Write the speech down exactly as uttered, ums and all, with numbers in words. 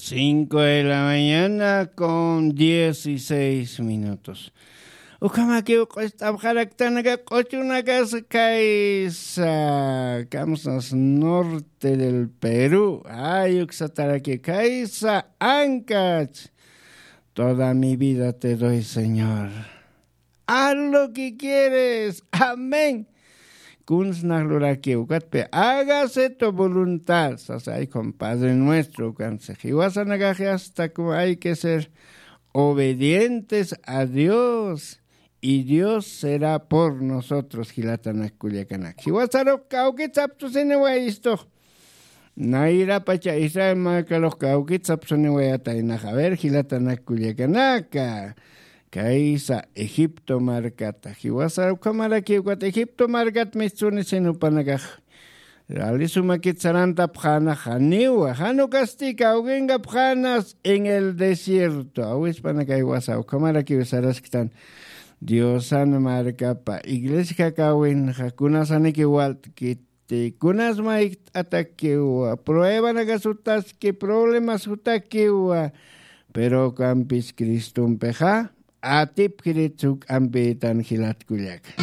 Cinco de la mañana con dieciséis minutos. Ukhamakiw q'ust'apxaraktanaka q'uchunakasa kaysa, kamsas norte del Perú. Ay, uksataraki kaysa, ankach. Toda mi vida te doy, Señor. Haz lo que quieres. Amén. Kunsnax lurakiw ukatpi, hágase tu voluntad, sasay con Padre Nuestro, ukansix jiwasanakaxi hasta como hay que ser obedientes a Dios, y Dios será por nosotros, jilatanak kullakanak. Jiwasarux kawkitsaptusiniwayistux. Nayrapacha Israel markarux kawkitsapsuniwayataynax. A ver, jilatanak kullakanaka, kaysa Egipto markata. Jiwasa ukhamarakiw ukat Egipto markat mistunisin jupanakax. Rali sumakit sarantapxäna janiwa, jan ukasti kawkinkapxänas en el desierto. Awispanaka jiwasa ukhamarakiw sarasktan. Diosan markapa iglesia jakawinxa kunasaniki walt'kit. Kunas mayjt'atakiwa, pruebanakas jutaski, problemas jutakiwa, pero ukampis Cristompixa atipkirit juk'ampitan, jilat kullaka.